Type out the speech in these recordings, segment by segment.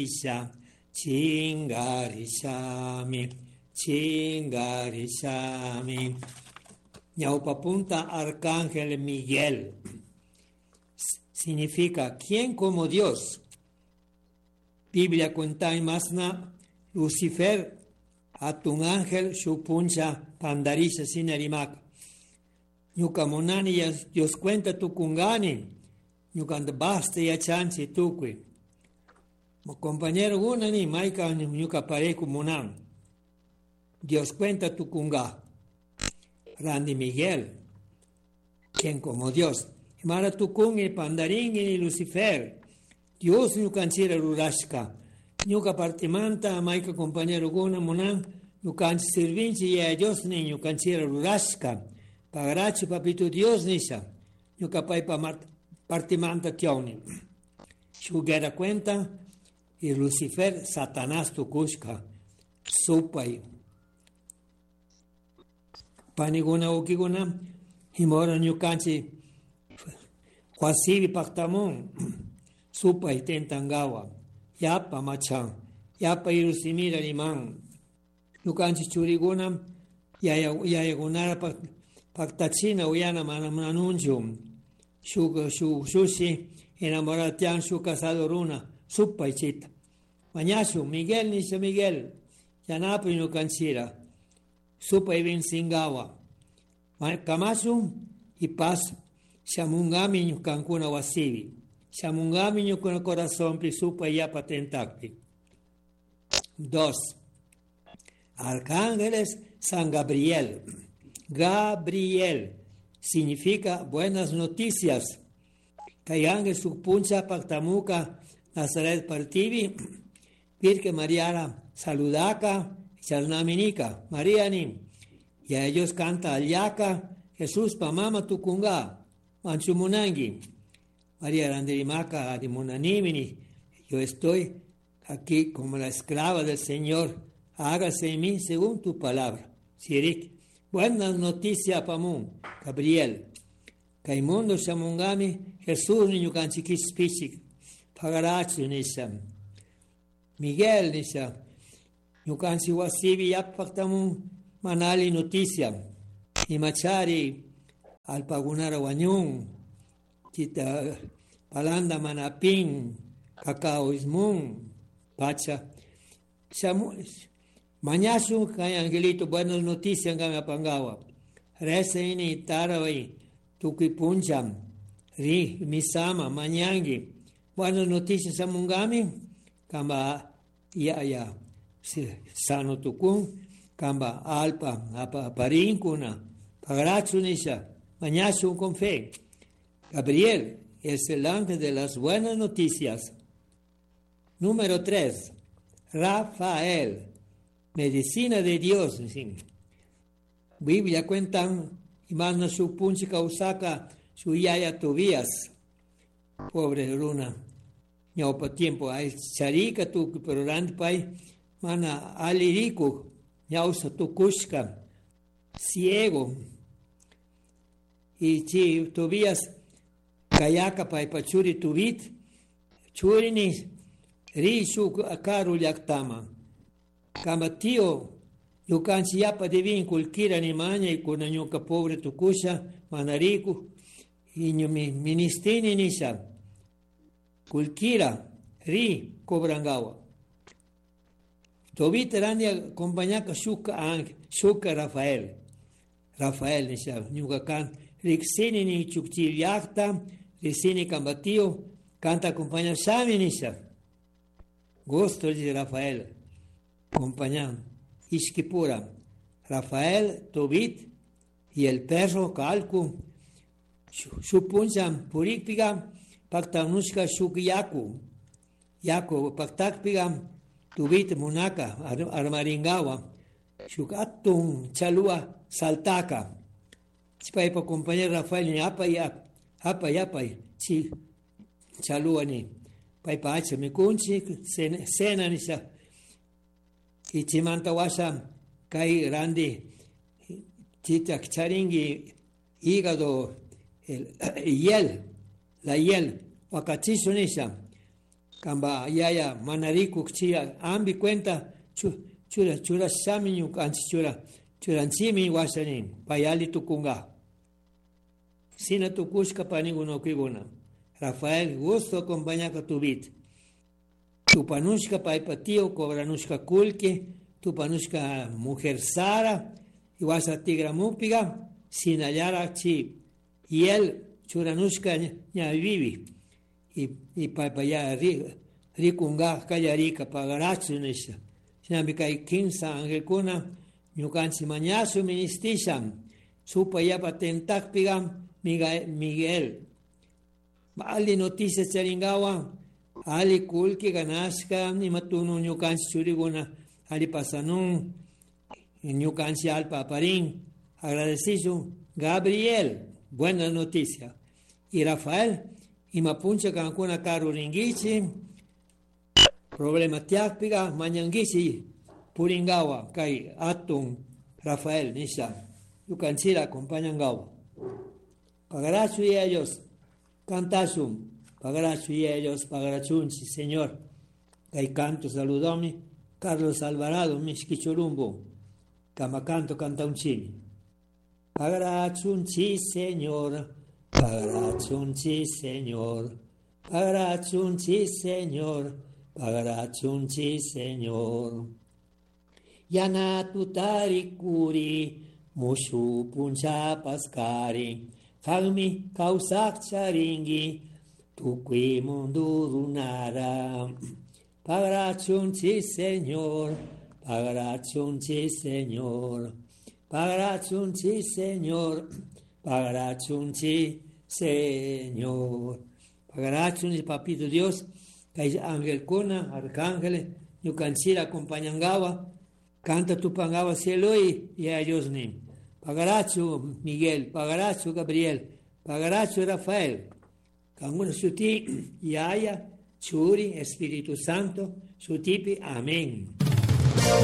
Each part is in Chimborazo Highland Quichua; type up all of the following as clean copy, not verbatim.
Isha, chingarishami, chingarishami. Ñaupapunta Arcángel Miguel significa ¿quién como Dios? Biblia cuenta masna Lucifer atun ángel shupuncha pandarisha sinarimak. Ñuka munani Dios cuenta tukungani. Ñuka basta yachanchi tukui. Compañero gunani maika ñuka pareku munan. Dios cuenta tukunga. Randy Miguel, quien como Dios. Mara tukungi pandaringi Lucifer. Dios ñukanchira rurashka. Ñuka partimanta maika compañero guna munan ñukanchi sirvinchi ya Dios ni ñukanchira rurashka. Pagarachi papito Dios nisha. Ñuka paipa partimanta tioni. Shugera cuenta y Lucifer Satanás tukushka. Supay. Paniguna ukiguna himora ñukanchi huasibi paktamun supay tentangawa yapa machan yapa irusimira liman ñukanchi churiguna yaya yayagunara paktachina uyana mana manunchu shuk shuk shushi enamoratian shu casado runa supay chita mañashu Miguel nisha Miguel yanapu ñukanchira supay vincingawa kamasu y paz shamungami ñukankuna wasibi shamungami ñukuna corazón supay yapa tentakpi. Dos, Arcángeles San Gabriel. Gabriel significa buenas noticias. Kay ángel puncha pactamuca Nazaret partivi, Virgen Mariara saludaka, charnaminika, María ni. Y a ellos canta aliaca, Jesús pa mama tukunga, manchumunangi. María Randirimaca, Adimunanimini, yo estoy aquí como la esclava del Señor, hágase en mí según tu palabra. Sirik, buenas noticias pamun, Gabriel. Kaimundo shamungami, Jesús niño canchiquispichik, pagarachu nisha. Miguel nisha, ñukanchi wasibi yapaktamun manali noticia. Imachari alpagunara wañun, kita palanda manapin, cacao ismun, pacha. Shamu, mañasu kay angelito buenas noticias ngami apangawa. Reza ini tarawai tukuy puncham, ri misama mañangi. Buenas noticias samungami, kamba ya ya sano tukun, kamba alpa apa parinkuna, pagrachu nisha, mañasu con fe. Gabriel es el ángel de las buenas noticias. Número 3, Rafael, medicina de Dios. Biblia cuentan, imana su punchi causaka su yaya Tobías. Pobre runa. Ñaupa tiempo ay charika tu pero pay mana aliriku ñausa tukushka ciego. Y chi Tobías kayaka pay pachuri tubit churini ri shuk karu llaktama. Kama tío ñukanchik yapa devin kullkira nimaña y kuna ñuka pobre tukusha manariku y ministini nisha kullkira ri cobrangawa. Tobit randi acompañaka shuka ángel, shuka Rafael. Rafael nisha ñuka kan riksini ni chukchi llakta, riksini kambatio, canta acompaña shami nisha. Gusto dice Rafael, acompañan. Ishkipura, Rafael, Tobit y el perro Calcu, Shupuncham, Purikpiga, Paktanushka Shuk Yaku, Yaku, Paktakpiga, Tobit Munaka, Armaringawa, Shukatun, Chalua, Saltaka. Chipaipa compañero Rafael, ni apa y apa y apa, chi, Chalua ni, Paipa hacha mikunchi, cena nisha. Y chimanta washa kay randi chita charingi hígado el hiel la hiel wakachisho nisha. Kamba yaya mana rikuk chi ambi cuenta chura chura shami ñukanchik chura churanchimi washa nin pay alli tukunga. Sina tukushka panikuna wawkikuna. Rafael gusto acompañaka tubit. Tupanushka paypa tío cobranushka kullki, tupanushka mujer Sara, y washa tigramukpiga sinallara chi y él churanushka ña vivi y paypa ya rikunga kallarika pagarachu nisha. Shinami kay kimsa angelkuna ñukanchik mañashu ministishan supa yapa tentakpiga Miguel alli noticia charingawa alli kullki ganashka ima tunu ñukanchik churikuna alli pasanun ñukanchik allpa aparin agradecishun Gabriel buena noticia y Rafael ima puncha kankuna karu rinkichik problema tiyakpiga mañankichik puringawa kay atun Rafael nisha ñukanchikta acompañangawa. Pagarachu y ellos cantashun, pagarachu y ellos pagarachunchi, Señor. Kay canto saludomi Carlos Alvarado mishki churumbu, kama canto cantaunchimi. Pagarachunchi, Señor, pagarachunchi, Señor, pagarachunchi, Señor, pagarachunchi, Señor. Yana tutarikuri, mushu puncha paskari, kanmi kawsak charinki, tukuy mundu runara. Pagarachunchi, Señor, pagarachunchi, Señor, pagarachunchi, Señor, pagarachunchi, Señor. Pagarachunchi, Papito Dios, kay angelkuna, arcángeles, ñukanchikta acompañangawa, canta tupangawa cielo y a Dios nin. Pagarachu Miguel, pagarachu Gabriel, pagarachu Rafael. Kankuna shuti Yaya, Churi, Espíritu Santo, shutipi, amén.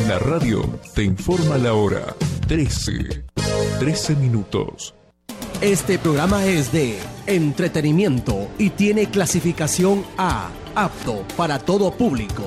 La radio te informa la hora 13, 13 minutos. Este programa es de entretenimiento y tiene clasificación A, apto para todo público.